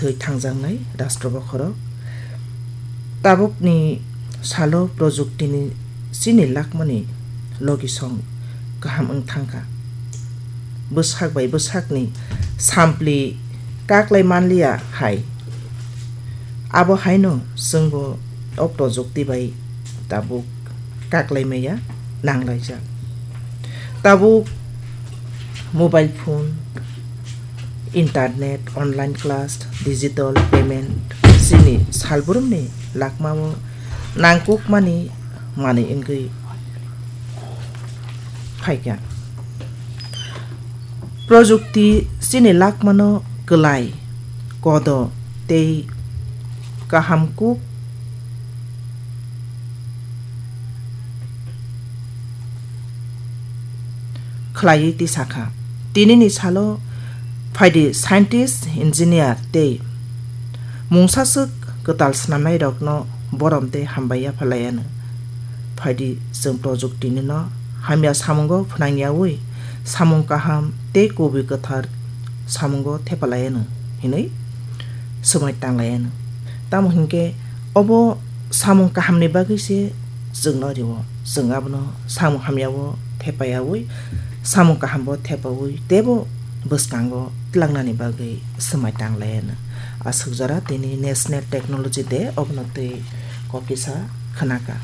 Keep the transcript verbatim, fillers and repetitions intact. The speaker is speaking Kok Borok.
twi thangjaknai rastro bokhorok. Tabukni salo projukti ni chini lakmani logisong kaham wng thangkha. Bwsak bai bwsakni sampli kaklai manliya hai. Abo haino chwngbo o projukti bai tabuk kaklai maya nanglaijak. Tabuk mobile phone, internet, online class, digital payment chini salbrumni lakmao nangkukmani manwi wngwi phaikha. Projukti chini lakmano kwlai, kodo tei kaham kuk khlaiwi tisakha. Tinini salo phaidi scientist, engineer tei mungsaswk kwtal swnamnairokno borom tei hambai yapharlaianw. Phaidi chwng projuktinino hamya samungo phnangyawi samung kaham tei kubui kwthar samungo thepalaianw hinwi swmai tanglaianw. Tamo hinkhe obo samung kahamni bagwi se chwngno rio. Chwng abono samung hamyao thepaiyawi, samung kahambo thepawi teibo bwskango tlangnani bagwi swmai tanglaianw. Aswk jora tini National Technology Day, obono twi kok kisa khnaka.